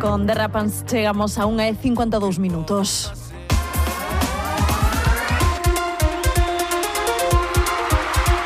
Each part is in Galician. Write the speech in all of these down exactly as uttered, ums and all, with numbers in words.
Con Derrapans chegamos a unha e cincuenta e dous minutos.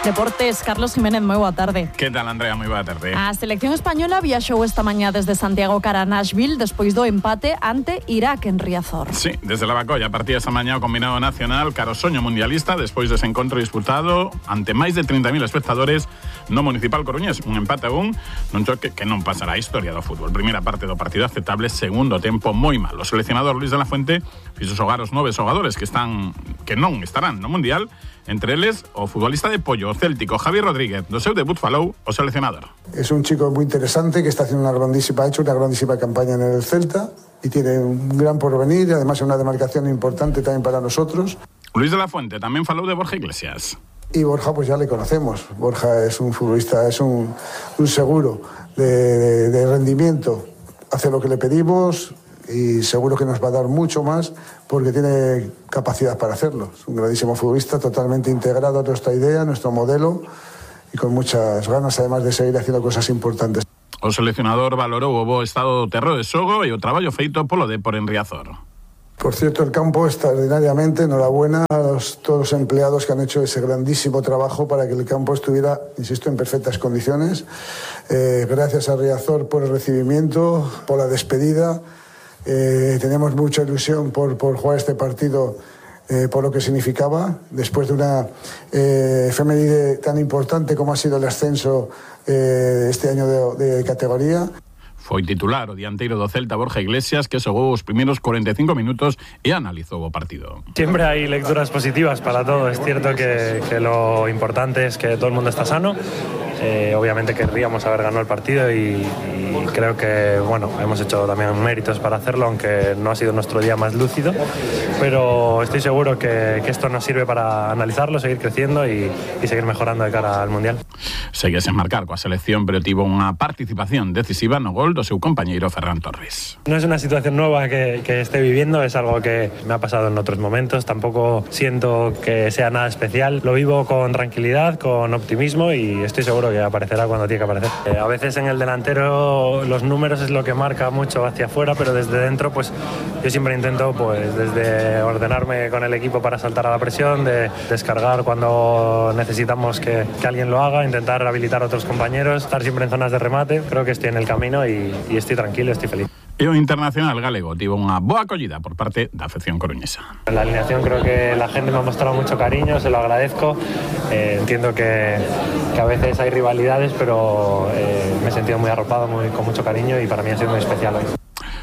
Deportes, Carlos Jiménez, moi boa tarde. Que tal, Andrea? Moi boa tarde. A selección española viaxou esta mañá desde Santiago cara a Nashville despois do empate ante Irak en Riazor. Sí, desde la Bacolla partía esta mañá o combinado nacional caro soño mundialista despois dese encontro disputado ante máis de trinta mil espectadores no Municipal Coruñés. Un empate a un nun choque que non pasará a historia do fútbol. Primeira parte do partido aceptable, segundo tempo moi malo. O seleccionador Luis de la Fuente fixo xogar os nove xogadores que están que non estarán no Mundial. Entre eles, o futbolista de Pollo, o céltico Javi Rodríguez. Do seu debut falou o seleccionador. Es un chico muy interesante que está haciendo una grandísima, ha hecho una grandísima campaña en el Celta y tiene un gran porvenir y además una demarcación importante también para nosotros. Luis de la Fuente también falou de Borja Iglesias. Y Borja pues ya le conocemos. Borja es un futbolista, es un, un seguro de, de, de rendimiento. Hace lo que le pedimos y seguro que nos va a dar mucho más porque tiene capacidad para hacerlo. Es un grandísimo futbolista, totalmente integrado a nuestra idea, a nuestro modelo y con muchas ganas además de seguir haciendo cosas importantes. O seleccionador valorou o bo estado do terreo de xogo e o traballo feito polo Depor en Riazor. Por cierto, el campo extraordinariamente, enhorabuena a los, todos los empleados que han hecho ese grandísimo trabajo para que el campo estuviera, insisto, en perfectas condiciones. Eh, gracias a Riazor por el recibimiento, por la despedida. Eh, tenemos mucha ilusión por, por jugar este partido, eh, por lo que significaba, después de una eh, efeméride tan importante como ha sido el ascenso eh, este año de, de categoría. Foi titular o dianteiro do Celta Borja Iglesias que xogou os primeiros cuarenta y cinco minutos e analizou o partido. Siempre hay lecturas positivas para todo. Es cierto que, que lo importante es que todo el mundo está sano. Eh, obviamente querríamos haber ganado el partido y, y creo que bueno, hemos hecho también méritos para hacerlo, aunque no ha sido nuestro día más lúcido, pero estoy seguro que, que esto nos sirve para analizarlo, seguir creciendo y, y seguir mejorando de cara al Mundial. Segue sen marcar coa selección, pero tivo unha participación decisiva no gol do seu compañeiro Ferran Torres. No es una situación nueva que, que esté viviendo, es algo que me ha pasado en otros momentos, tampoco siento que sea nada especial, lo vivo con tranquilidad, con optimismo y estoy seguro que aparecerá cuando tiene que aparecer. Eh, a veces en el delantero los números es lo que marca mucho hacia afuera, pero desde dentro pues yo siempre intento pues desde ordenarme con el equipo para saltar a la presión, de descargar cuando necesitamos que, que alguien lo haga, intentar habilitar a otros compañeros, estar siempre en zonas de remate. Creo que estoy en el camino y, y estoy tranquilo, estoy feliz. E o internacional galego tivo unha boa acollida por parte da afección coruñesa. En la alineación creo que la gente me ha mostrado mucho cariño, se lo agradezco. Eh, entiendo que, que a veces hay rivalidades, pero eh, me he sentido muy arropado, muy, con mucho cariño y para mí ha sido muy especial hoy.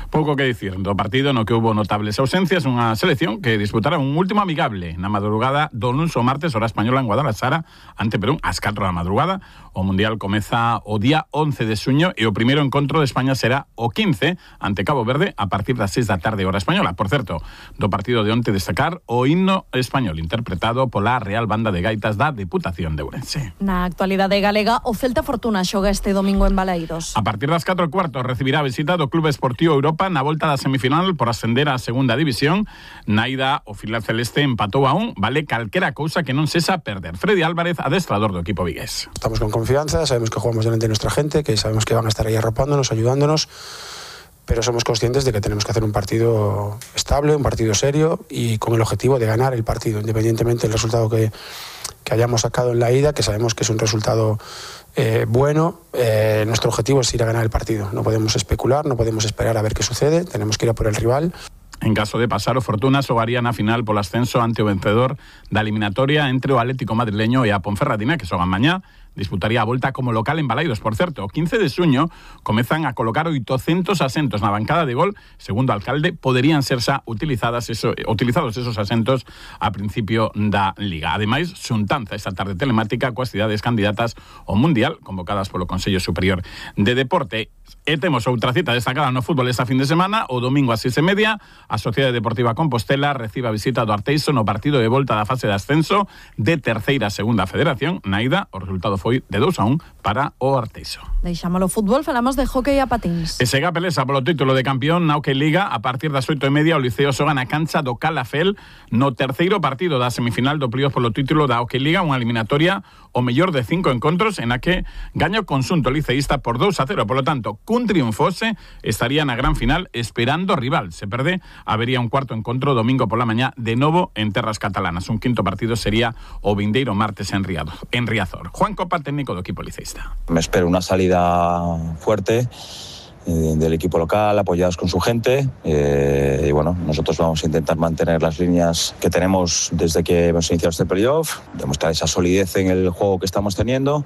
Pouco que dicir do partido no que hubo notables ausencias, unha selección que disputará un último amigable na madrugada do luns ao martes, hora española en Guadalajara, ante Perú, ás catro da madrugada. O Mundial comeza o día once de xuño e o primeiro encontro de España será o quince ante Cabo Verde a partir das seis da tarde, hora española. Por certo, do partido de onte destacar o himno español interpretado pola Real Banda de Gaitas da Deputación de Ourense. Na actualidade galega, o Celta Fortuna xoga este domingo en Balaídos. A partir das catro e cuarto recibirá a visita do Club Esportivo Europa na volta da semifinal por ascender á segunda división. Na ida, o filial celeste empatou a un, vale calquera cousa que non sexa perder. Freddy Álvarez, adestrador do equipo vigués. Estamos con confianza, sabemos que jugamos delante de nuestra gente, que sabemos que van a estar ahí arropándonos, ayudándonos, pero somos conscientes de que tenemos que hacer un partido estable, un partido serio y con el objetivo de ganar el partido, independientemente del resultado que, que hayamos sacado en la ida, que sabemos que es un resultado eh, bueno. Eh, nuestro objetivo es ir a ganar el partido. No podemos especular, no podemos esperar a ver qué sucede, tenemos que ir a por el rival. En caso de pasar, o Fortuna xogaría na final polo ascenso ante o vencedor da eliminatoria entre o Atlético madrileño e a Ponferradina, que xogan mañá. Disputaría a volta como local en Balaídos. Por certo, o quince de xuño comezan a colocar oitocentos asentos na bancada de gol. Segundo o alcalde, poderían ser xa utilizadas eso, utilizados esos asentos a principio da Liga. Ademais, xuntanza esta tarde telemática coas cidades candidatas ao Mundial, convocadas polo Consello Superior de Deporte. E temos outra cita destacada no fútbol esta fin de semana. O domingo ás seis e media, a Sociedade Deportiva Compostela recibe a visita do Arteixo no partido de volta da fase de ascenso de terceira a segunda federación. Na ida, o resultado foi foi de dous a un para o Arteixo. Deixámolo fútbol, falamos de hockey a patins. E sega pelesa polo título de campeón na Hockey Liga. A partir das oito e media o Liceo xoga na cancha do Calafell no terceiro partido da semifinal do playoff polo título da Hockey Liga, unha eliminatoria o mellor de cinco encontros en a que gaña o conxunto liceísta por dous a cero. Polo tanto, cun triunfose estaría na gran final esperando rival. Se perde, habería un cuarto encontro domingo pola mañá de novo en terras catalanas. Un quinto partido sería o vindeiro martes en Riazor. Juan Copa, técnico do equipo liceísta. Me espero una salida fuerte eh, del equipo local, apoyados con su gente eh, y bueno, nosotros vamos a intentar mantener las líneas que tenemos desde que hemos iniciado este playoff, demostrar esa solidez en el juego que estamos teniendo,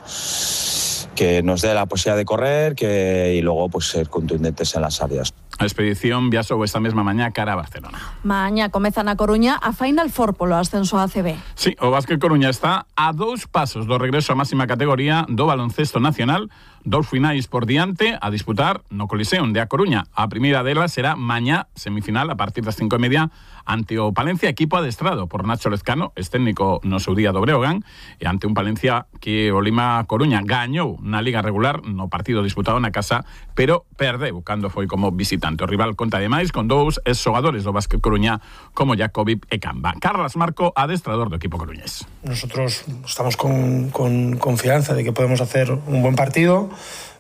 que nos dé la posibilidad de correr que, y luego pues ser contundentes en las áreas. A expedición viaxou esta mesma mañá cara a Barcelona. Mañá comeza na Coruña a Final Four polo ascenso a A C B. Sí, o Básquet Coruña está a dous pasos do regreso á máxima categoría do baloncesto nacional. Dous finais por diante a disputar no Coliseum de A Coruña. A primeira delas será mañá, semifinal, a partir das cinco e media, ante o Palencia, equipo adestrado por Nacho Lezcano, es técnico no seu día do Breogán, e ante un Palencia que o Lima Coruña gañou na liga regular no partido disputado na casa, pero perdeu cando foi como visitante. O rival conta ademais con dous ex-xogadores do Básquet Coruña como Jacobi e Camba. Carlos Marco, adestrador do equipo coruñés. Nosotros estamos con, con confianza de que podemos hacer un buen partido,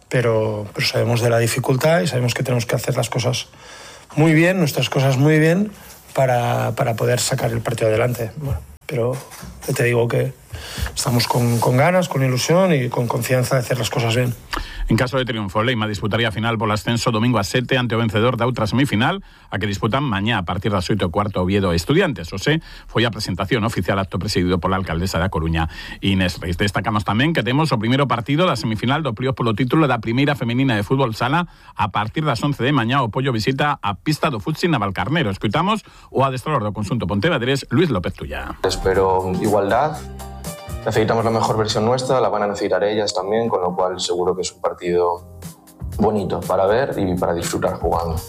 pero, pero sabemos de la dificultad y sabemos que tenemos que hacer las cosas muy bien, nuestras cosas muy bien, para, para poder sacar el partido adelante. Bueno, pero te digo que estamos con, con ganas, con ilusión y con confianza de hacer las cosas bien. En caso de triunfo, Leima disputaría a final polo ascenso domingo a sete ante o vencedor da outra semifinal, a que disputan mañá a partir das oito e cuarto Oviedo Estudiantes. O sé, foi a presentación oficial, acto presidido pola alcaldesa da Coruña, Inés Reis. Destacamos tamén que temos o primeiro partido da semifinal do playoff polo título da primeira femenina de fútbol sala. A partir das once de mañá o Pollo visita a pista do Futsi Navalcarnero. Escoitamos o adestrador do conxunto pontevedrés, Luis López Tulla. Espero igualdad. Necesitamos la mejor versión nuestra, la van a necesitar ellas también, con lo cual seguro que es un partido bonito para ver y para disfrutar jugando.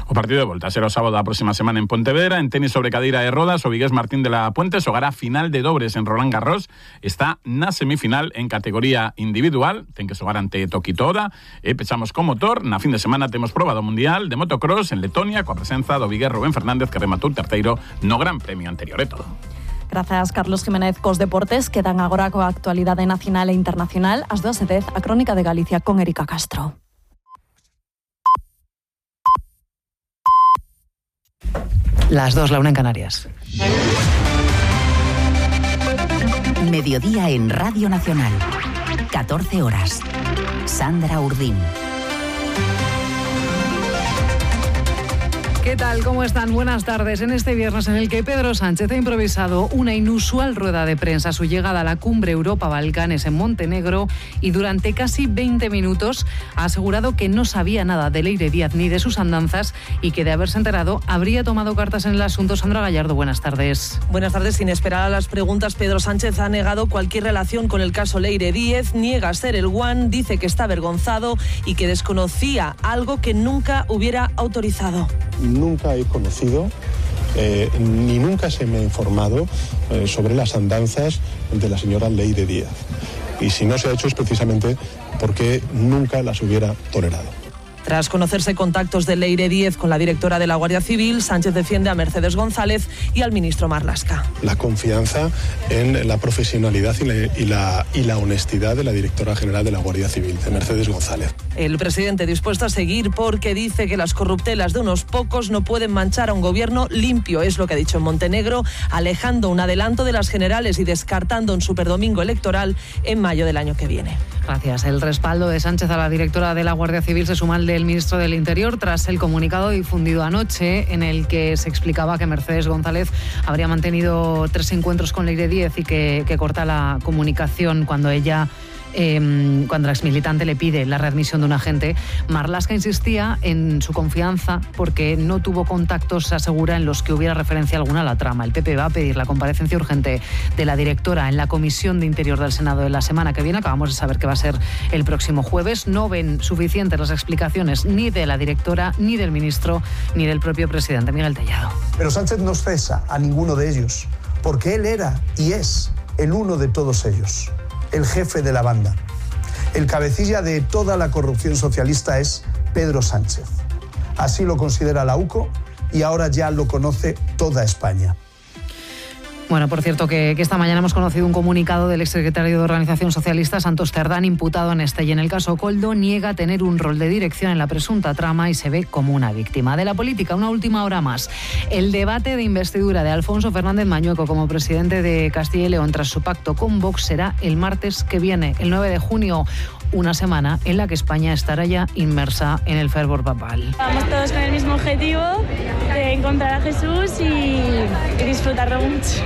O partido de volta será o sábado da próxima semana en Pontevedra. En tenis sobre cadeira de rodas, o vigués Martín de la Puente xogará final de dobres en Roland Garros. Está na semifinal en categoría individual, ten que xogar ante Tokito Oda. E pechamos con motor, na fin de semana temos proba do Mundial de motocross en Letonia, coa presenza do vigués Rubén Fernández, que rematou terceiro no Gran Premio anterior e todo. Grazas, Carlos Jiménez, cos deportes. Quedan agora coa actualidade nacional e internacional. As doce e dez, a Crónica de Galicia con Erika Castro. Las dos, la una en Canarias. Mediodía en Radio Nacional. catorce horas. Sandra Urdín. ¿Qué tal? ¿Cómo están? Buenas tardes. En este viernes en el que Pedro Sánchez ha improvisado una inusual rueda de prensa a su llegada a la cumbre Europa-Balcanes en Montenegro y durante casi veinte minutos ha asegurado que no sabía nada de Leire Díaz ni de sus andanzas y que de haberse enterado habría tomado cartas en el asunto. Sandra Gallardo, buenas tardes. Buenas tardes. Sin esperar a las preguntas, Pedro Sánchez ha negado cualquier relación con el caso Leire Díez, niega ser el guan, dice que está avergonzado y que desconocía algo que nunca hubiera autorizado. Nunca he conocido eh, ni nunca se me ha informado eh, sobre las andanzas de la señora Leire Díaz. Y si no se ha hecho es precisamente porque nunca las hubiera tolerado. Tras conocerse contactos de Leire Díez con la directora de la Guardia Civil, Sánchez defiende a Mercedes González y al ministro Marlaska. La confianza en la profesionalidad y la, y la, y la honestidad de la directora general de la Guardia Civil, de Mercedes González. El presidente dispuesto a seguir porque dice que las corruptelas de unos pocos no pueden manchar a un gobierno limpio, es lo que ha dicho en Montenegro, alejando un adelanto de las generales y descartando un superdomingo electoral en mayo del año que viene. Gracias. El respaldo de Sánchez a la directora de la Guardia Civil se suma al del ministro del Interior tras el comunicado difundido anoche en el que se explicaba que Mercedes González habría mantenido tres encuentros con Leire Díez y que, que corta la comunicación cuando ella... Eh, cuando la exmilitante le pide la readmisión de un agente. Marlaska insistía en su confianza porque no tuvo contactos, se asegura, en los que hubiera referencia alguna a la trama. El P P va a pedir la comparecencia urgente de la directora en la Comisión de Interior del Senado de la semana que viene. Acabamos de saber que va a ser el próximo jueves. No ven suficientes las explicaciones ni de la directora, ni del ministro, ni del propio presidente. Miguel Tellado. Pero Sánchez no cesa a ninguno de ellos, porque él era y es el uno de todos ellos, el jefe de la banda. El cabecilla de toda la corrupción socialista es Pedro Sánchez. Así lo considera la U C O y ahora ya lo conoce toda España. Bueno, por cierto, que, que esta mañana hemos conocido un comunicado del exsecretario de Organización Socialista, Santos Cerdán, imputado en este y en el caso Koldo, niega tener un rol de dirección en la presunta trama y se ve como una víctima. De la política, una última hora más. El debate de investidura de Alfonso Fernández Mañueco como presidente de Castilla y León tras su pacto con Vox será el martes que viene, el nueve de junio. Una semana en la que España estará ya inmersa en el fervor papal. Vamos todos con el mismo objetivo de encontrar a Jesús y, y disfrutarlo mucho.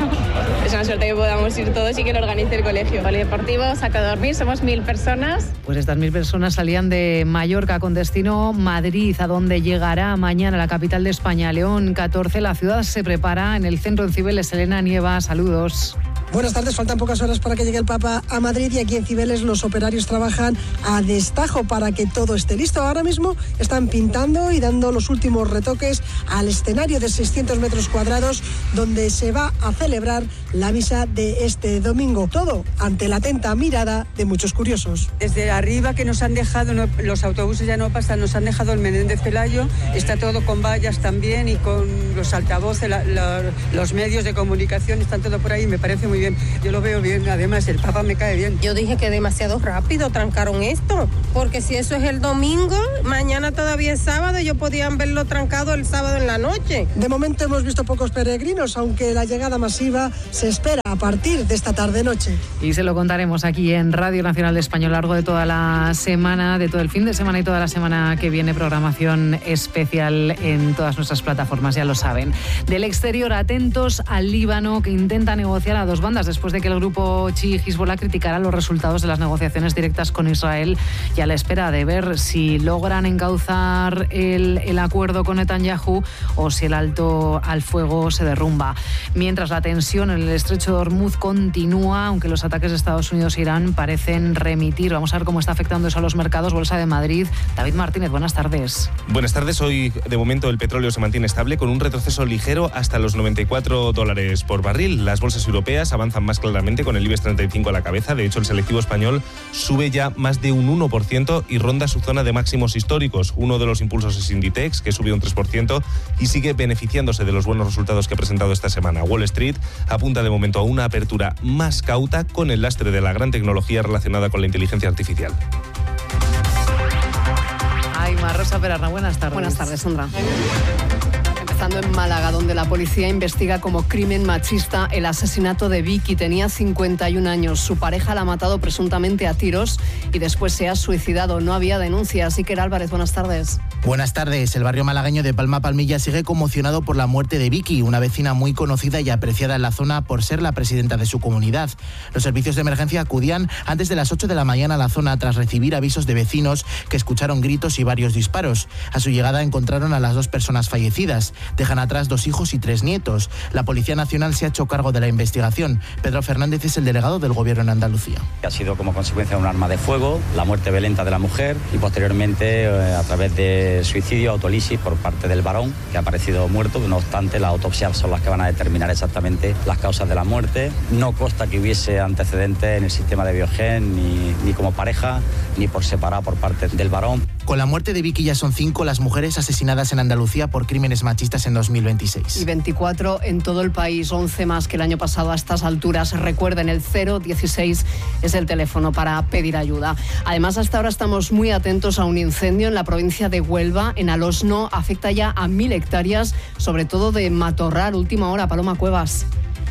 Es una suerte que podamos ir todos y que lo organice el colegio. Polideportivo, saco a dormir, somos mil personas. Pues estas mil personas salían de Mallorca con destino Madrid, a donde llegará mañana la capital de España, León catorce. La ciudad se prepara en el centro en Cibeles. Elena Nieva, saludos. Buenas tardes, faltan pocas horas para que llegue el Papa a Madrid y aquí en Cibeles los operarios trabajan a destajo para que todo esté listo. Ahora mismo están pintando y dando los últimos retoques al escenario de seiscientos metros cuadrados donde se va a celebrar la misa de este domingo. Todo ante la atenta mirada de muchos curiosos. Desde arriba que nos han dejado, no, los autobuses ya no pasan, nos han dejado el Menéndez Pelayo, está todo con vallas también y con los altavoces, la, la, los medios de comunicación, están todo por ahí, me parece muy bien, yo lo veo bien, además el Papa me cae bien. Yo dije que demasiado rápido trancaron esto, porque si eso es el domingo, mañana todavía es sábado, ellos podían verlo trancado el sábado en la noche. De momento hemos visto pocos peregrinos, aunque la llegada masiva se espera a partir de esta tarde-noche. Y se lo contaremos aquí en Radio Nacional de España a lo largo de toda la semana, de todo el fin de semana y toda la semana que viene, programación especial en todas nuestras plataformas, ya lo saben. Del exterior, atentos al Líbano, que intenta negociar a dos bandas después de que el grupo chií Hezbollah criticara los resultados de las negociaciones directas con Israel y a la espera de ver si logran encauzar el, el acuerdo con Netanyahu o si el alto al fuego se derrumba. Mientras la tensión en el estrecho de Hormuz continúa, aunque los ataques de Estados Unidos e Irán parecen remitir. Vamos a ver cómo está afectando eso a los mercados. Bolsa de Madrid. David Martínez, buenas tardes. Buenas tardes. Hoy, de momento, el petróleo se mantiene estable con un retroceso ligero hasta los noventa y cuatro dólares por barril. Las bolsas europeas avanzan más claramente con el IBEX treinta y cinco a la cabeza. De hecho, el selectivo español sube ya más de un uno por ciento y ronda su zona de máximos históricos. Uno de los impulsos es Inditex, que sube un tres por ciento y sigue beneficiándose de los buenos resultados que ha presentado esta semana. Wall Street apunta de momento a una apertura más cauta con el lastre de la gran tecnología relacionada con la inteligencia artificial. Ay, Rosa Perarna, buenas tardes. Buenas tardes, Sandra. Empezando en Málaga, donde la policía investiga como crimen machista el asesinato de Vicky. Tenía cincuenta y un años. Su pareja la ha matado presuntamente a tiros y después se ha suicidado. No había denuncias. Iker Álvarez, buenas tardes. Buenas tardes. El barrio malagueño de Palma Palmilla sigue conmocionado por la muerte de Vicky, una vecina muy conocida y apreciada en la zona por ser la presidenta de su comunidad. Los servicios de emergencia acudían antes de las ocho de la mañana a la zona tras recibir avisos de vecinos que escucharon gritos y varios disparos. A su llegada encontraron a las dos personas fallecidas. Dejan atrás dos hijos y tres nietos. La Policía Nacional se ha hecho cargo de la investigación. Pedro Fernández es el delegado del Gobierno en Andalucía. Ha sido como consecuencia de un arma de fuego, la muerte violenta de la mujer y posteriormente eh, a través de suicidio, autolisis por parte del varón, que ha aparecido muerto. No obstante, las autopsias son las que van a determinar exactamente las causas de la muerte. No consta que hubiese antecedentes en el sistema de Biogen, ni, ni como pareja, ni por separado por parte del varón. Con la muerte de Vicky ya son cinco las mujeres asesinadas en Andalucía por crímenes machistas en dos mil veintiséis. Y veinticuatro en todo el país, once más que el año pasado a estas alturas. Recuerden, el cero dieciséis es el teléfono para pedir ayuda. Además, hasta ahora estamos muy atentos a un incendio en la provincia de Huelva, en Alosno. Afecta ya a mil hectáreas, sobre todo de matorral. Última hora, Paloma Cuevas.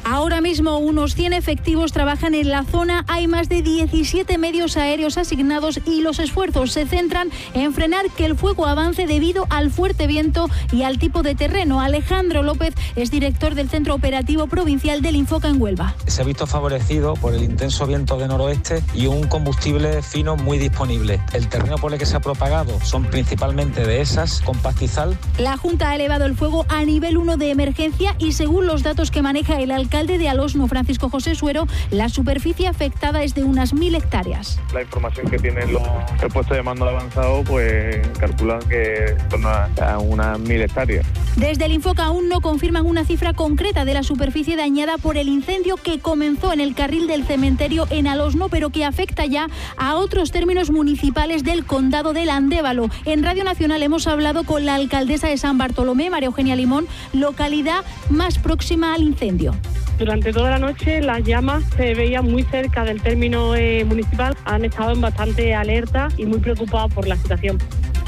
Ahora mismo unos cien efectivos trabajan en la zona, hay más de diecisiete medios aéreos asignados y los esfuerzos se centran en frenar que el fuego avance debido al fuerte viento y al tipo de terreno. Alejandro López es director del Centro Operativo Provincial del Infoca en Huelva. Se ha visto favorecido por el intenso viento de noroeste y un combustible fino muy disponible. El terreno por el que se ha propagado son principalmente dehesas con pastizal. La Junta ha elevado el fuego a nivel uno de emergencia y según los datos que maneja el alcalde alcalde de Alosno, Francisco José Suero, la superficie afectada es de unas mil hectáreas. La información que tienen los el puesto de mando avanzado, pues calculan que son a, a unas mil hectáreas. Desde el Infoca aún no confirman una cifra concreta de la superficie dañada por el incendio que comenzó en el carril del cementerio en Alosno, pero que afecta ya a otros términos municipales del condado del Andévalo. En Radio Nacional hemos hablado con la alcaldesa de San Bartolomé, María Eugenia Limón, localidad más próxima al incendio. Durante toda la noche las llamas se veían muy cerca del término eh, municipal. Han estado en bastante alerta y muy preocupados por la situación.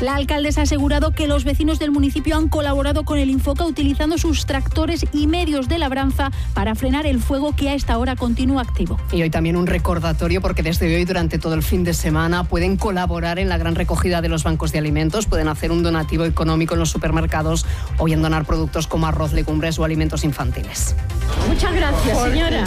La alcaldesa ha asegurado que los vecinos del municipio han colaborado con el Infoca utilizando sus tractores y medios de labranza para frenar el fuego que a esta hora continúa activo. Y hoy también un recordatorio, porque desde hoy durante todo el fin de semana pueden colaborar en la gran recogida de los bancos de alimentos, pueden hacer un donativo económico en los supermercados o bien donar productos como arroz, legumbres o alimentos infantiles. Muchas gracias, señora.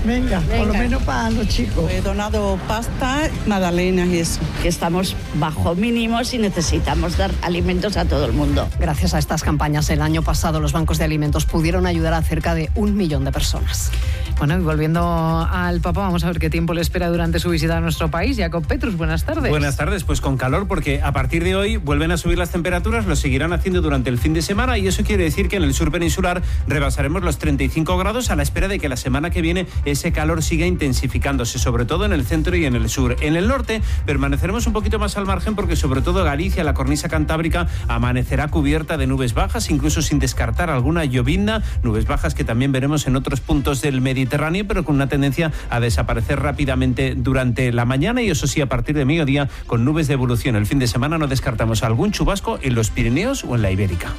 Venga, Venga, por lo menos para los chicos. He donado pasta, magdalenas y eso. Que estamos bajo mínimos y necesitamos dar alimentos a todo el mundo. Gracias a estas campañas, el año pasado los bancos de alimentos pudieron ayudar a cerca de un millón de personas. Bueno, y volviendo al Papa, vamos a ver qué tiempo le espera durante su visita a nuestro país. Jacob Petrus, buenas tardes. Buenas tardes, pues con calor, porque a partir de hoy vuelven a subir las temperaturas, lo seguirán haciendo durante el fin de semana, y eso quiere decir que en el sur peninsular rebasaremos los treinta y cinco grados a la espera de que la semana que viene ese calor siga intensificándose, sobre todo en el centro y en el sur. En el norte permaneceremos un poquito más al margen, porque sobre todo Galicia, la cornisa cantábrica, amanecerá cubierta de nubes bajas, incluso sin descartar alguna llovizna, nubes bajas que también veremos en otros puntos del Mediterráneo, pero con una tendencia a desaparecer rápidamente durante la mañana, y eso sí, a partir de mediodía con nubes de evolución. El fin de semana no descartamos algún chubasco en los Pirineos o en la Ibérica.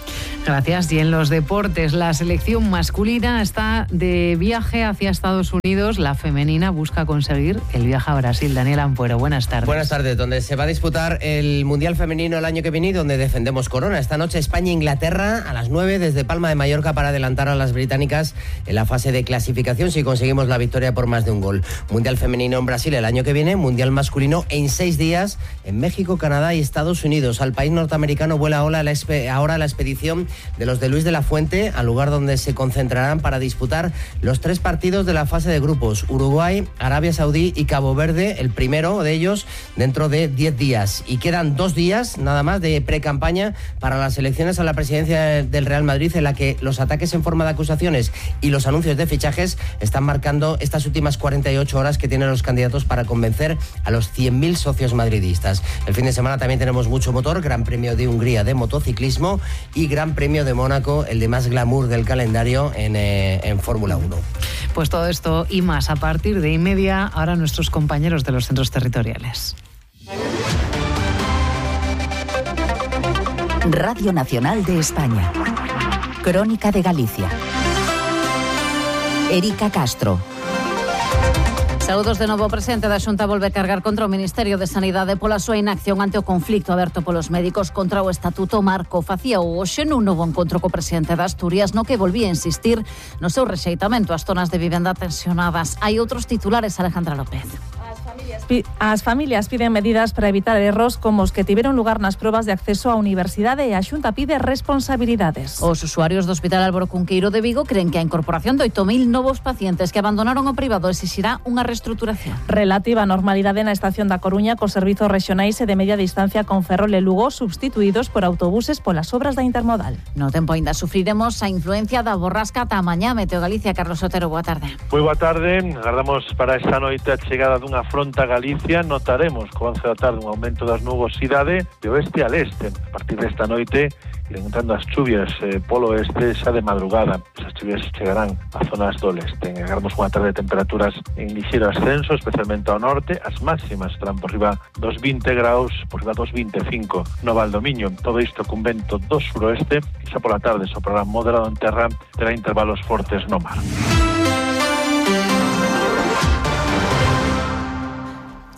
Gracias. Y en los deportes, la selección masculina está de viaje hacia Estados Unidos. La femenina busca conseguir el viaje a Brasil. Daniel Ampuero, buenas tardes. Buenas tardes, donde se va a disputar el Mundial Femenino el año que viene y donde defendemos corona. Esta noche España-Inglaterra a las nueve desde Palma de Mallorca para adelantar a las británicas en la fase de clasificación si conseguimos la victoria por más de un gol. Mundial Femenino en Brasil el año que viene, Mundial Masculino en seis días en México, Canadá y Estados Unidos. Al país norteamericano vuela ahora la, ahora la expedición de los de Luis de la Fuente, al lugar donde se concentrarán para disputar los tres partidos de la fase de grupos: Uruguay, Arabia Saudí y Cabo Verde, el primero de ellos dentro de diez días. Y quedan dos días nada más de pre-campaña para las elecciones a la presidencia del Real Madrid, en la que los ataques en forma de acusaciones y los anuncios de fichajes están marcando estas últimas cuarenta y ocho horas que tienen los candidatos para convencer a los cien mil socios madridistas. El fin de semana también tenemos mucho motor: Gran Premio de Hungría de motociclismo y Gran Premio de Mónaco, el de más glamour del calendario en, eh, en Fórmula uno. Pues todo esto y más a partir de y media, ahora nuestros compañeros de los centros territoriales. Radio Nacional de España. Crónica de Galicia. Erika Castro. Saúdos de novo. O presidente da Xunta volve cargar contra o Ministerio de Sanidade pola súa inacción ante o conflicto aberto polos médicos contra o Estatuto Marco. Facía o hoxe nun novo encontro co presidente de Asturias, no que volvía a insistir no seu rexeitamento ás zonas de vivenda tensionadas. Hai outros titulares, Alejandra López. As familias piden medidas para evitar erros como os que tiveron lugar nas probas de acceso á universidade, e a Xunta pide responsabilidades. Os usuarios do Hospital Álvaro Cunqueiro de Vigo creen que a incorporación de oito mil novos pacientes que abandonaron o privado exixirá unha reestruturación. Relativa a normalidade na estación da Coruña cos servizos rexionais e de media distancia con Ferrol e Lugo substituídos por autobuses polas obras da intermodal. No tempo aínda sufriremos a influencia da borrasca ata mañá. Meteo Galicia, Carlos Otero, boa tarde. Moi boa tarde. Agardamos para esta noite a chegada dunha fronta Galicia. Notaremos co avance da tarde un aumento das nubosidade de oeste a leste. A partir desta noite irán entrando as chuvias eh, polo oeste xa de madrugada. Esas chuvias chegarán a zonas do leste. Agardamos unha tarde de temperaturas en lixeiro ascenso, especialmente ao norte. As máximas estarán por riba dos vinte graus, por riba dos vinte e cinco no Valdomiño. Todo isto cun vento do suroeste, que xa pola tarde soprará moderado en terra, terá intervalos fortes no mar.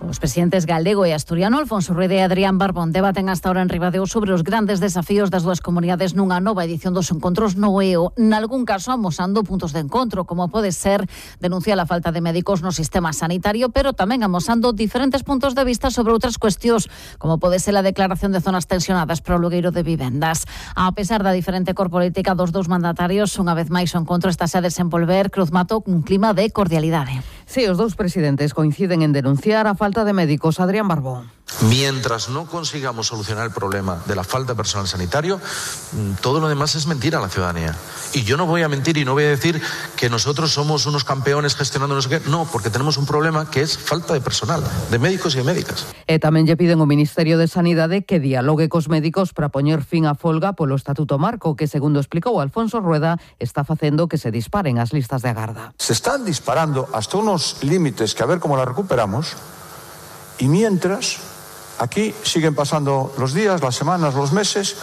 Os presidentes galego e asturiano Alfonso Rueda e Adrián Barbón debaten hasta ahora en Ribadeo sobre os grandes desafíos das dúas comunidades nunha nova edición dos encontros no E O, nalgún caso amosando puntos de encontro, como pode ser denunciar a falta de médicos no sistema sanitario, pero tamén amosando diferentes puntos de vista sobre outras cuestións, como pode ser a declaración de zonas tensionadas para o alugueiro de vivendas. A pesar da diferente cor política dos dous mandatarios, unha vez máis o encontro está a desenvolver, Cruz Mato, un clima de cordialidade. Sí, os dous presidentes coinciden en denunciar a falta de médicos. Adrián Barbón. Mientras no consigamos solucionar el problema de la falta de personal sanitario, todo lo demás es mentira a la ciudadanía. Y yo no voy a mentir y no voy a decir que nosotros somos unos campeones gestionando no sé qué. No, porque tenemos un problema que es falta de personal, de médicos y de médicas. E tamén lle piden ao Ministerio de Sanidade que dialogue cos médicos para poñer fin á folga polo Estatuto Marco, que, segundo explicou Alfonso Rueda, está facendo que se disparen as listas de agarda. Se están disparando hasta unos límites que a ver cómo la recuperamos, y mientras aquí siguen pasando los días, las semanas, los meses,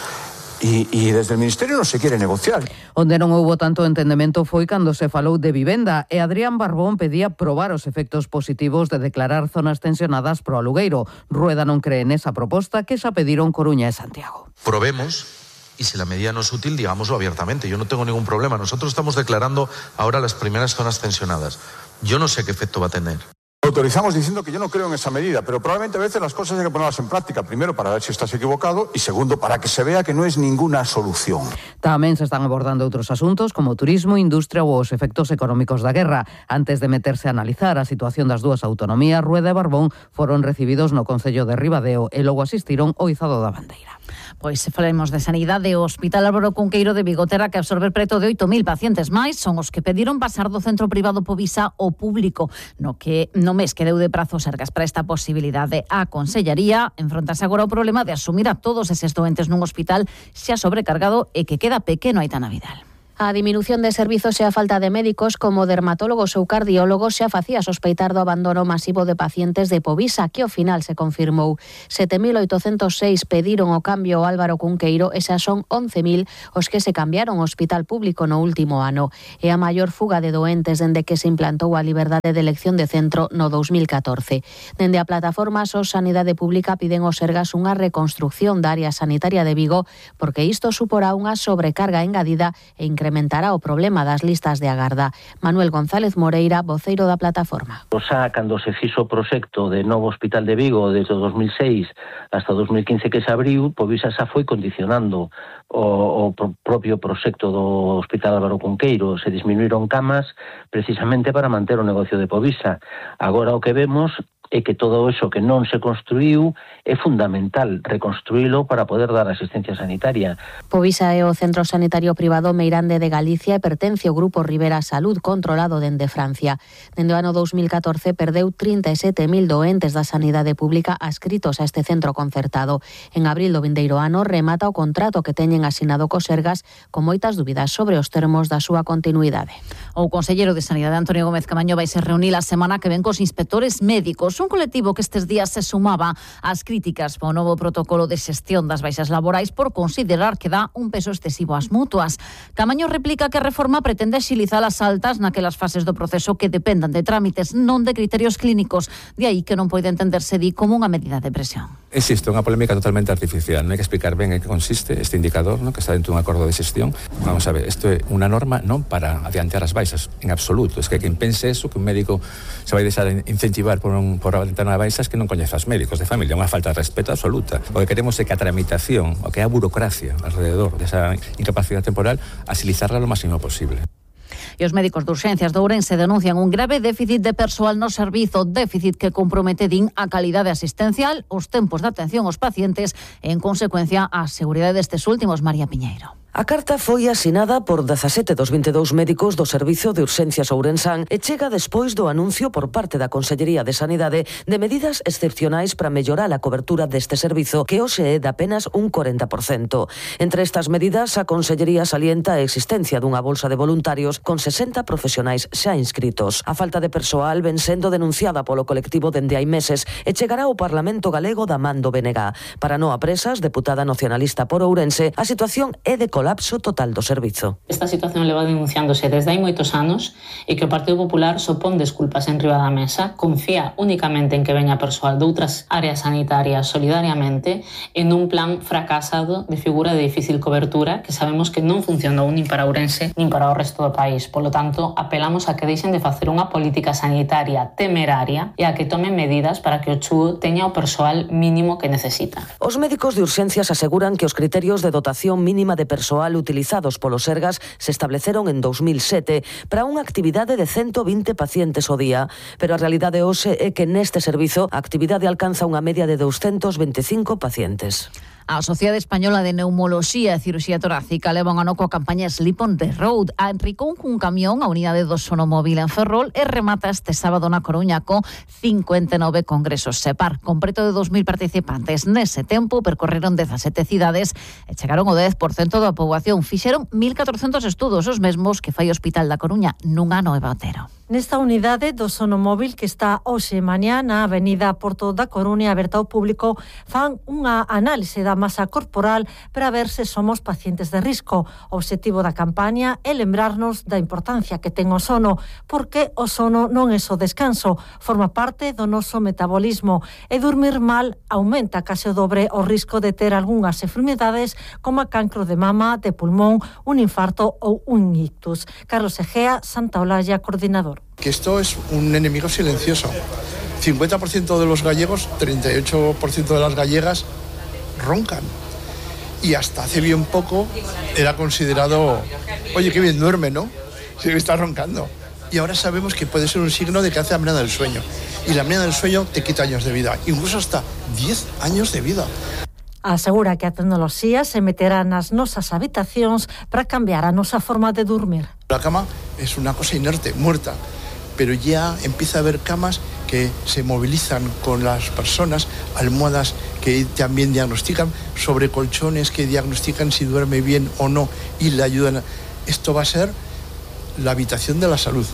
y, y desde el Ministerio no se quiere negociar. Onde non houbo tanto entendemento foi cando se falou de vivenda e Adrián Barbón pedía probar os efectos positivos de declarar zonas tensionadas pro alugueiro. Rueda non cree nesa proposta que xa pediron Coruña e Santiago. Probemos. Y si la medida no es útil, digámoslo abiertamente. Yo no tengo ningún problema. Nosotros estamos declarando ahora las primeras zonas tensionadas. Yo no sé qué efecto va a tener. Autorizamos diciendo que yo no creo en esa medida, pero probablemente a veces las cosas hay que ponerlas en práctica. Primero, para ver si estás equivocado, y segundo, para que se vea que no es ninguna solución. Tamén se están abordando outros asuntos como turismo, industria ou os efectos económicos da guerra. Antes de meterse a analizar a situación das dúas autonomías, Rueda e Barbón foron recibidos no Concello de Ribadeo e logo asistiron ao izado da bandeira. Pois se falemos de sanidade, o Hospital Álvaro Cunqueiro de Vigo terá que absorber preto de oito mil pacientes máis, son os que pediron pasar do centro privado Povisa ao público, no que no mes que deu de prazo Sergas para esta posibilidade. A Consellería enfrontase agora o problema de asumir a todos eses doentes nun hospital xa sobrecargado e que queda pequeno Aitana Vidal. A diminución de servizos e a falta de médicos como dermatólogos ou cardiólogos xa facía sospeitar do abandono masivo de pacientes de Povisa, que ao final se confirmou. sete mil oitocentos seis pediron o cambio ao Álvaro Cunqueiro e xa son once mil os que se cambiaron ao hospital público no último ano. É a maior fuga de doentes dende que se implantou a liberdade de elección de centro no dos mil catorce. Dende a plataforma SOS Sanidade Pública piden ao Sergas unha reconstrucción da área sanitaria de Vigo porque isto suporá unha sobrecarga engadida e incrementará incrementará o problema das listas de agarda. Manuel González Moreira, voceiro da plataforma. Xa cando se fixo o proxecto de novo Hospital de Vigo desde o dos mil seis hasta o dos mil quince que se abriu, Povisa xa foi condicionando o, o propio proxecto do Hospital Álvaro Cunqueiro. Se disminuíron camas precisamente para manter o negocio de Povisa. Agora o que vemos é que todo eso que non se construiu é fundamental reconstruílo para poder dar asistencia sanitaria. Povisa é o centro sanitario privado meirande de Galicia e pertence ao Grupo Rivera Salud, controlado dende Francia. Dende o ano dos mil catorce perdeu trinta e sete mil doentes da sanidade pública adscritos a este centro concertado. En abril do vindeiro ano remata o contrato que teñen asinado co Sergas con moitas dúbidas sobre os termos da súa continuidade. O conselleiro de Sanidade Antonio Gómez Camaño vai se reunir a semana que ven cos inspectores médicos, un colectivo que estes días se sumaba ás críticas ao novo protocolo de xestión das baixas laborais por considerar que dá un peso excesivo ás mutuas. Camaño replica que a reforma pretende axilizar as altas naquelas fases do proceso que dependan de trámites, non de criterios clínicos, de aí que non pode entenderse di como unha medida de presión. Existe unha polémica totalmente artificial, non hai que explicar ben en que consiste este indicador, ¿no?, que está dentro dun acordo de xestión. Vamos a ver, isto é unha norma non para adiantar as baixas, en absoluto. Es que quen pense eso, que un médico se vai deixar incentivar por, un, por adiantar unha baixa, es que non coñece os médicos de familia, unha falta de respeto absoluta. O que queremos é que a tramitación, o que é a burocracia alrededor desa incapacidade temporal, asilizarla lo máximo posible. E os médicos de urxencias de Ourense denuncian un grave déficit de persoal no servizo, déficit que compromete, din, a calidade asistencial, os tempos de atención aos pacientes e, en consecuencia, a seguridade destes últimos. María Piñeiro. A carta foi asinada por dezasete dos vinte e dous médicos do Servizo de Urxencias Ourensán e chega despois do anuncio por parte da Consellería de Sanidade de medidas excepcionais para mellorar a cobertura deste servizo, que hoxe é de apenas un corenta por cento. Entre estas medidas, a Consellería salienta a existencia dunha bolsa de voluntarios con sesenta profesionais xa inscritos. A falta de persoal ven sendo denunciada polo colectivo dende hai meses e chegará ao Parlamento Galego da man do B N G. Para Noa Presas, deputada nacionalista por Ourense, a situación é de colapso total do servizo. Esta situación leva denunciándose desde hai moitos anos e que o Partido Popular sopón desculpas en riba da mesa, confía únicamente en que veña persoal de outras áreas sanitarias solidariamente en un plan fracasado de figura de difícil cobertura que sabemos que non funcionou nin para Ourense nin para o resto do país. Polo tanto, apelamos a que deixen de facer unha política sanitaria temeraria e a que tomen medidas para que o C H U teña o persoal mínimo que necesita. Os médicos de urxencias aseguran que os criterios de dotación mínima de persoal persoal utilizados polos Sergas se estableceron en dos mil sete para unha actividade de ciento vinte pacientes ao día, pero a realidade hoxe é que neste servizo a actividade alcanza unha media de doscientos veinticinco pacientes. A Sociedade Española de Neumoloxía e Cirurxía Torácica leva un ano coa campaña Sleep on the Road. Enricou cun camión a unidade do Sonomóvil en Ferrol e remata este sábado na Coruña co cincuenta e nove congresos SEPAR. Con preto de dos mil participantes nese tempo percorreron dezasete cidades e chegaron o dez por cento da poboación. Fixeron mil catrocentos estudos, os mesmos que fai o Hospital da Coruña nun ano e batero. Nesta unidade do Sonomóvil que está hoxe e mañá na Avenida Porto da Coruña aberta ao público fan unha análise da masa corporal para ver se somos pacientes de risco. O obxectivo da campaña é lembrarnos da importancia que ten o sono, porque o sono non é só descanso, forma parte do noso metabolismo e dormir mal aumenta case o dobre o risco de ter algunhas enfermedades como a cancro de mama, de pulmón, un infarto ou un ictus. Carlos Egea, Santa Olalla, coordinador. Que esto es un enemigo silencioso. cincuenta por ciento de los gallegos, treinta y ocho por ciento de las gallegas roncan. Y hasta hace bien poco era considerado, oye, qué bien duerme, ¿no? Si está roncando. Y ahora sabemos que puede ser un signo de que hace apnea del sueño. Y la apnea del sueño te quita años de vida, incluso hasta diez años de vida. Asegura que a tecnoloxía se meterá nas nosas habitacións para cambiar a nosa forma de dormir. La cama es una cosa inerte, muerta, pero ya empieza a haber camas que se movilizan con las personas, almohadas que también diagnostican, sobre colchones que diagnostican si duerme bien o no y le ayudan. Esto va a ser la habitación de la salud.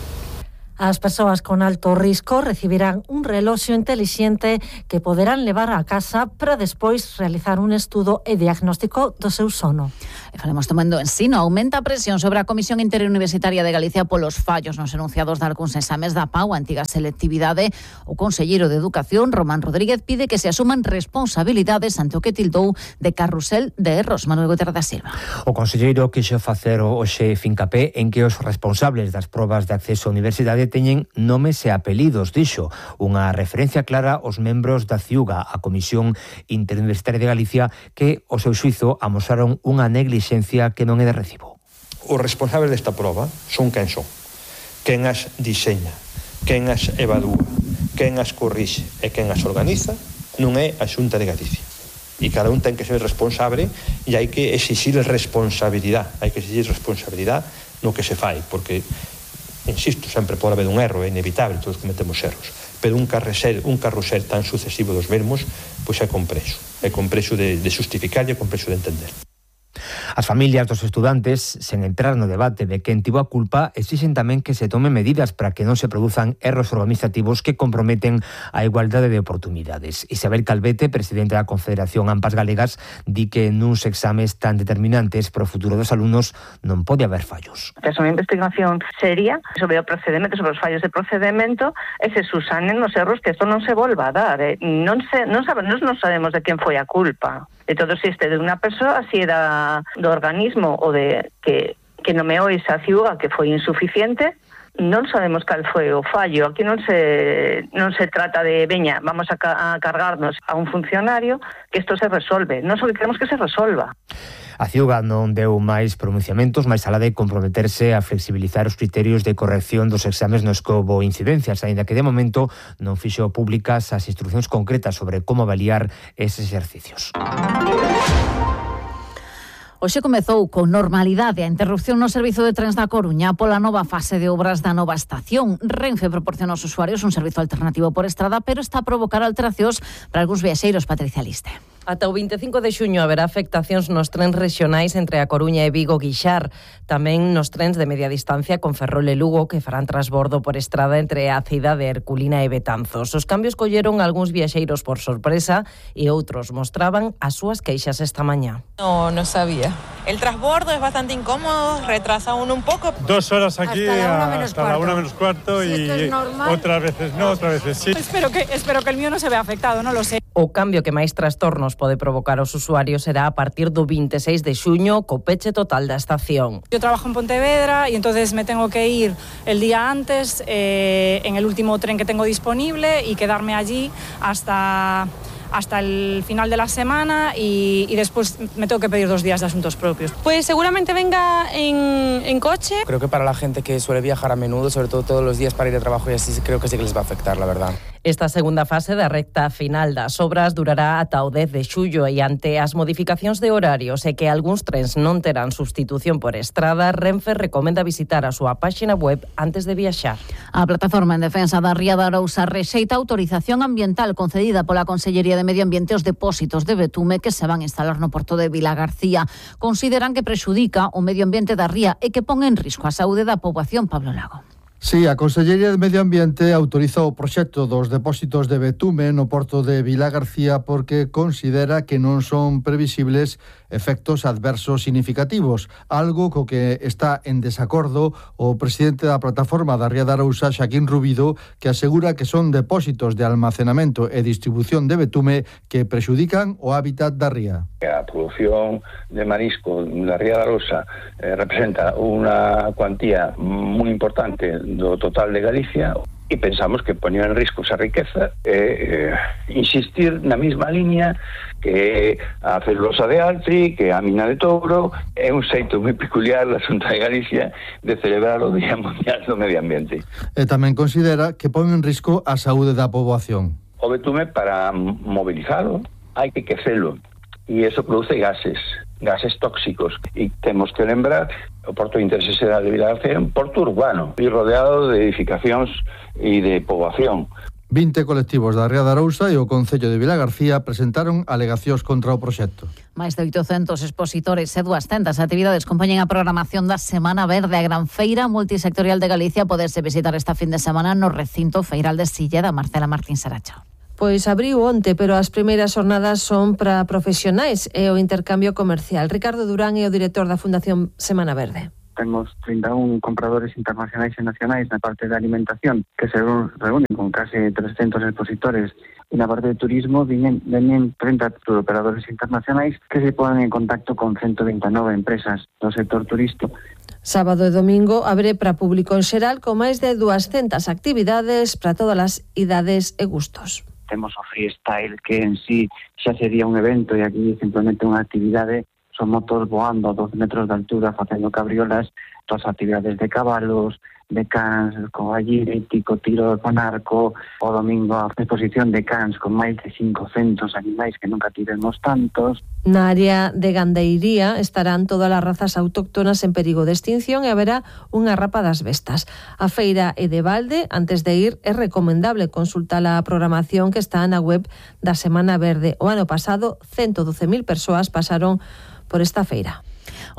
As persoas con alto risco recibirán un reloxo intelixente que poderán levar a casa para despois realizar un estudo e diagnóstico do seu sono. E falemos tamén do ensino. Aumenta a presión sobre a Comisión Interuniversitaria de Galicia polos fallos nos enunciados de algúns exames da P A U, a antiga selectividade. O conselleiro de Educación, Román Rodríguez, pide que se asuman responsabilidades ante o que tildou de carrusel de erros. Manuel Guterres da Silva. O conselleiro quixo facer hoxe fincapé en que os responsables das probas de acceso á universidade teñen nomes e apelidos, dixo, unha referencia clara aos membros da CIUGA, a Comisión Interuniversitaria de Galicia, que, ao seu xuizo, amosaron unha neglixencia que non é de recibo. Os responsables desta proba son quen son, quen as diseña, quen as evalúa, quen as corrixe e quen as organiza non é a Xunta de Galicia. E cada un ten que ser responsable e hai que exigir responsabilidade, hai que exigir responsabilidade no que se fai, porque insisto, sempre pode haber un erro, é inevitable, todos cometemos erros, pero un carrusel, un carrusel tan sucesivo dos mesmos, pois é complexo, é complexo de, de justificar e é complexo de entender. As familias dos estudantes, sen entrar no debate de quen tivo a culpa, exixen tamén que se tomen medidas para que non se produzan erros organizativos que comprometen a igualdade de oportunidades. Isabel Calvete, presidente da Confederación AMPAs Galegas, di que nuns exames tan determinantes para o futuro dos alumnos non pode haber fallos. É unha investigación seria sobre o procedimento, sobre os fallos de procedimento, e se susanen os erros que isto non se volva a dar. Eh? Non, se, non, sabemos, non sabemos de quen foi a culpa. De todo se este de unha persoa, si era do organismo ou de que, que nomeou esa ciuga que foi insuficiente, non sabemos cal foi o fallo. Aquí non se non se trata de, veña, vamos a, ca a cargarnos a un funcionario, que isto se resolve. Non só que queremos que se resolva. A CIUGA non deu máis pronunciamentos, máis alá de comprometerse a flexibilizar os criterios de corrección dos exames nos que houbo incidencias, aínda que de momento non fixo públicas as instruccións concretas sobre como avaliar eses exercicios. Hoxe comezou con normalidade a interrupción no servizo de trens da Coruña pola nova fase de obras da nova estación. Renfe proporciona aos usuarios un servizo alternativo por estrada, pero está a provocar alteracións para algúns viaxeiros. Patricia Liste. Ata o vinte e cinco de xuño haberá afectacións nos trens rexionais entre a Coruña e Vigo-Guixar, tamén nos trens de media distancia con Ferrol e Lugo, que farán transbordo por estrada entre a cidade Herculina e Betanzos. Os cambios colleron algúns viaxeiros por sorpresa e outros mostraban as súas queixas esta mañá. No, no sabía. El transbordo es bastante incómodo, retrasa uno un poco. Dos horas aquí hasta la una menos hasta la una menos cuarto sí, y otras veces no, otras veces sí. Espero que, espero que el mío no se vea afectado, no lo sé. O cambio que máis trastornos pode provocar aos usuarios será a partir do vinte e seis de xuño co peche total da estación. Yo trabajo en Pontevedra y entonces me tengo que ir el día antes eh, en el último tren que tengo disponible y quedarme allí hasta hasta el final de la semana y, y después me tengo que pedir dos días de asuntos propios. Pues seguramente venga en, en coche. Creo que para la gente que suele viajar a menudo, sobre todo todos los días para ir a trabajo y así, creo que sí que les va a afectar, la verdad. Esta segunda fase da recta final das obras durará ata o dez de xullo e ante as modificacións de horarios e que algúns trens non terán substitución por estrada, Renfe recomenda visitar a súa páxina web antes de viaxar. A plataforma en defensa da Ría de Arousa rexeita a autorización ambiental concedida pola Consellería de Medio Ambiente aos depósitos de betume que se van a instalar no porto de Vilagarcía. Consideran que prexudica o medio ambiente da ría e que pon en risco a saúde da poboación. Pablo Lago. Sí, a Consellería de Medio Ambiente autorizou o proxecto dos depósitos de betume no porto de Vilagarcía porque considera que non son previsibles efectos adversos significativos, algo co que está en desacordo o presidente da plataforma da Ría de Arousa, Xaquín Rubido, que asegura que son depósitos de almacenamento e distribución de betume que prexudican o hábitat da ría. A produción de marisco da Ría de Arousa eh, representa unha cuantía moi importante do total de Galicia e pensamos que ponía en risco esa riqueza e eh, insistir na mesma liña que a celulosa de Altri, que a mina de Touro. É un xeito moi peculiar da Xunta de Galicia de celebrar o Día Mundial do Medio Ambiente. E tamén considera que pon en risco a saúde da poboación. O betume, para mobilizalo, hai que quecelo e eso produce gases, gases tóxicos. E temos que lembrar, o Porto de Interese Xeral de Vilagarcía é un porto urbano e rodeado de edificacións e de poboación. vinte colectivos da Ría de Arousa e o Concello de Vilagarcía presentaron alegacións contra o proxecto. Máis de oitocentos expositores e duascentas actividades compoñen a programación da Semana Verde. A gran feira multisectorial de Galicia poderse visitar esta fin de semana no recinto feiral de Silleda. Marcela Martín Saracho. Pois abriu onte, pero as primeiras jornadas son para profesionais e o intercambio comercial. Ricardo Durán é o director da Fundación Semana Verde. Temos trinta e un compradores internacionais e nacionais na parte de alimentación, que se reúnen con case trescentos expositores, e na parte de turismo vienen, vienen treinta operadores internacionais que se ponen en contacto con ciento vinte e nove empresas do sector turístico. Sábado e domingo abre para público en xeral con máis de duascentas actividades para todas as idades e gustos. Temos o freestyle, que en sí xa sería un evento e aquí simplemente unha actividade. Son motos voando a doce metros de altura facendo cabriolas, todas as actividades de cabalos, de cans, con agilítico, tiro con arco. O domingo a exposición de cans con máis de cincocentos animais que nunca tivemos tantos. Na área de gandeiría estarán todas as razas autóctonas en perigo de extinción e haberá unha rapa das bestas. A feira é de balde. Antes de ir é recomendable consultar a programación que está na web da Semana Verde. O ano pasado, ciento doce mil persoas pasaron por esta feira.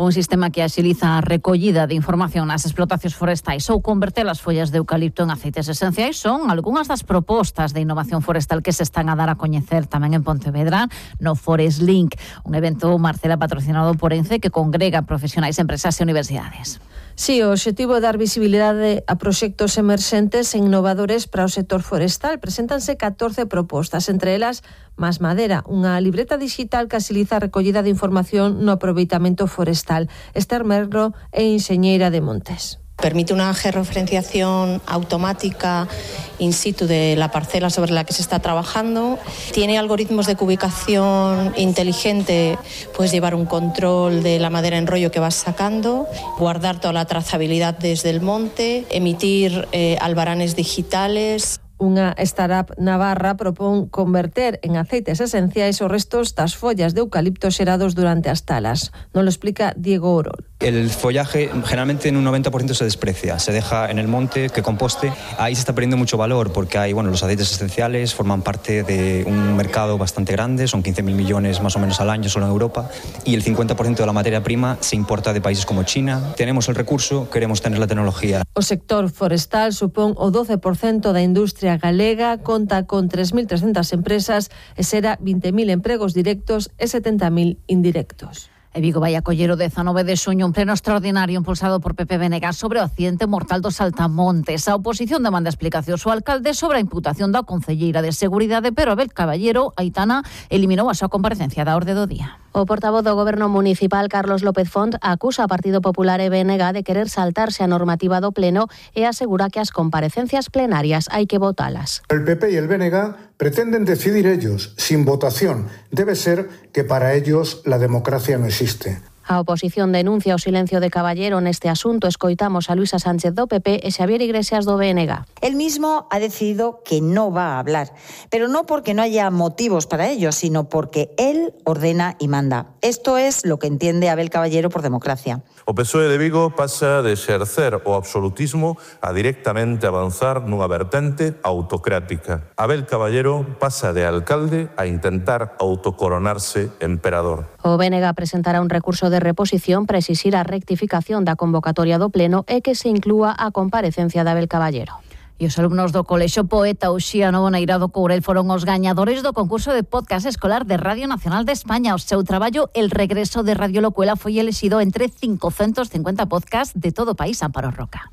Un sistema que axiliza a recollida de información nas explotacións forestais ou converter as follas de eucalipto en aceites esenciais son algunhas das propostas de innovación forestal que se están a dar a coñecer tamén en Pontevedra no Forest Link, un evento, Marcela, patrocinado por ENCE que congrega profesionais, empresas e universidades. Sí, o obxectivo é dar visibilidade a proxectos emerxentes e innovadores para o sector forestal. Preséntanse catorce propostas, entre elas Más Madera, unha libreta digital que axiliza a recollida de información no aproveitamento forestal. Esther Merlo é enxeñeira de montes. Permite una georreferenciación automática in situ de la parcela sobre la que se está trabajando. Tiene algoritmos de cubicación inteligente, puedes llevar un control de la madera en rollo que vas sacando, guardar toda la trazabilidad desde el monte, emitir eh, albaranes digitales. Unha startup navarra propón converter en aceites esenciais os restos das follas de eucalipto xerados durante as talas. Nos lo explica Diego Orol. El follaje generalmente en un noventa por ciento se desprecia, se deja en el monte, que composte. Ahí se está perdiendo mucho valor porque hay, bueno, los aceites esenciales forman parte de un mercado bastante grande, son quince mil millones más o menos al año solo en Europa, y el cincuenta por ciento de la materia prima se importa de países como China. Tenemos el recurso, queremos tener la tecnología. O sector forestal supón o doce por ciento da industria galega, conta con tres mil trescentas empresas e será vinte mil empregos directos e setenta mil indirectos. E Vigo vai acoller o dezanove de xuño un pleno extraordinario impulsado por Pepe Venegas sobre o accidente mortal dos Saltamontes. A oposición demanda explicacións ao alcalde sobre a imputación da concelleira de Seguridade, pero Abel Caballero, Aitana, eliminou a súa comparecencia da orde do día. O portavoz do Goberno Municipal, Carlos López Font, acusa ao Partido Popular e B N G de querer saltarse a normativa do Pleno e asegura que as comparecencias plenarias hai que votalas. El P P y el B N G Pretenden decidir ellos, sin votación. Debe ser que para ellos la democracia no existe. A oposición denuncia o silencio de Caballero neste asunto. Escoitamos a Luisa Sánchez do P P e Xavier Iglesias do B N G. Él mismo ha decidido que no va a hablar, pero no porque no haya motivos para ello, sino porque él ordena y manda. Esto es lo que entiende Abel Caballero por democracia. O P S O E de Vigo pasa de exercer o absolutismo a directamente avanzar nunha vertente autocrática. Abel Caballero pasa de alcalde a intentar autocoronarse emperador. O B N G presentará un recurso de reposición para exixir a rectificación da convocatoria do Pleno e que se inclúa a comparecencia de Abel Caballero. E os alumnos do Colexio Poeta Uxía Novo Neirado Courel foron os gañadores do concurso de podcast escolar de Radio Nacional de España. O seu traballo, El regreso de Radio Locuela, foi elexido entre quinientos cincuenta podcasts de todo o país. Amparo Roca.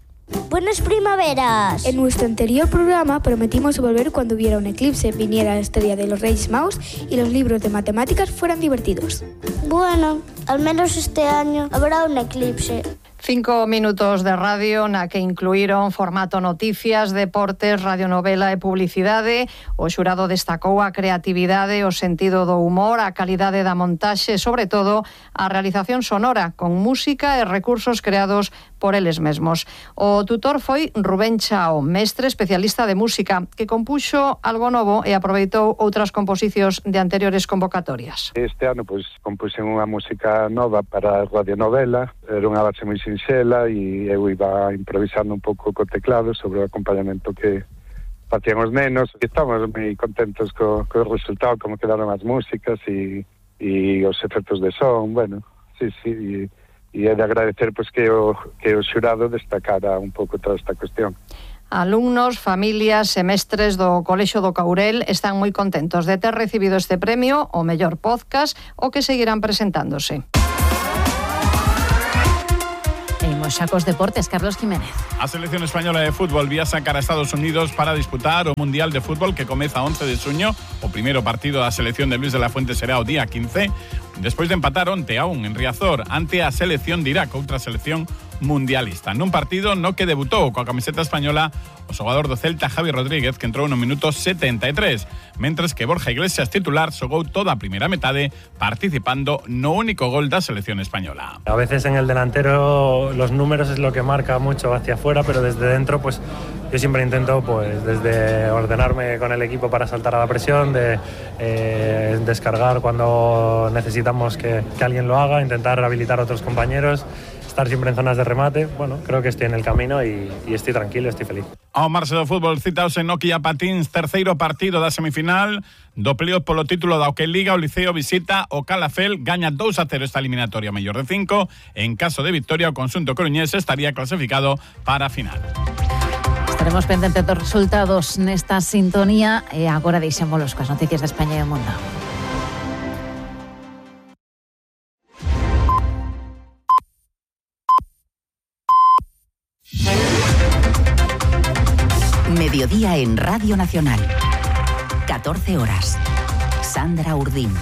Buenas primaveras. En nuestro anterior programa prometimos volver cuando hubiera un eclipse, viniera la historia de los Reyes Magos y los libros de matemáticas fueran divertidos. Bueno, al menos este año habrá un eclipse. Cinco minutos de radio na que incluíron formato noticias, deportes, radionovela e publicidade. O xurado destacou a creatividade, o sentido do humor, a calidade da montaxe e, sobre todo, a realización sonora, con música e recursos creados por eles mesmos. O tutor foi Rubén Chao, mestre especialista de música, que compuxo algo novo e aproveitou outras composicións de anteriores convocatorias. Este ano, pois, compuxen unha música nova para a radionovela, era unha base moi sinxela e eu iba improvisando un pouco co teclado sobre o acompañamento que facían os nenos. E estamos moi contentos co, co resultado, como quedaron as músicas e, e os efectos de son, bueno, sí, sí, e, e é de agradecer pois, que, o, que o xurado destacara un pouco toda esta cuestión. Alumnos, familias e mestres do Colexio do Courel están moi contentos de ter recibido este premio, o mellor podcast, o que seguirán presentándose. Xa cos deportes, Carlos Jiménez. A selección española de fútbol viaxa cara a Estados Unidos para disputar o Mundial de Fútbol que comeza once de xuño. O primeiro partido da selección de Luis de la Fuente será o día quince, despois de empatar onte a un en Riazor ante a selección de Irak, outra selección mundialista. Nun partido no que debutou coa camiseta española o xogador do Celta Javi Rodríguez, que entrou no minuto setenta e tres, mentres que Borja Iglesias, titular, xogou toda a primeira metade participando no único gol da selección española. A veces en el delantero los números es lo que marca mucho hacia afuera, pero desde dentro pues yo siempre intento pues desde ordenarme con el equipo para saltar a la presión, de eh, descargar cuando necesitamos que, que alguien lo haga, intentar habilitar a otros compañeros, estar siempre en zonas de remate. Bueno, creo que estoy en el camino y, y estoy tranquilo, estoy feliz. Ao marxe do fútbol, citaos en Nokia Patins, terceiro partido da semifinal do playoff polo título da Hockey Liga. O Liceo visita o Calafell, gaña dous a cero esta eliminatoria mellor de cinco. En caso de victoria, o conxunto coruñés estaría clasificado para a final. Estaremos pendentes dos resultados nesta sintonía e agora deixémolos coas noticias de España e o mundo. Mediodía en Radio Nacional. catorce horas. Sandra Urdín.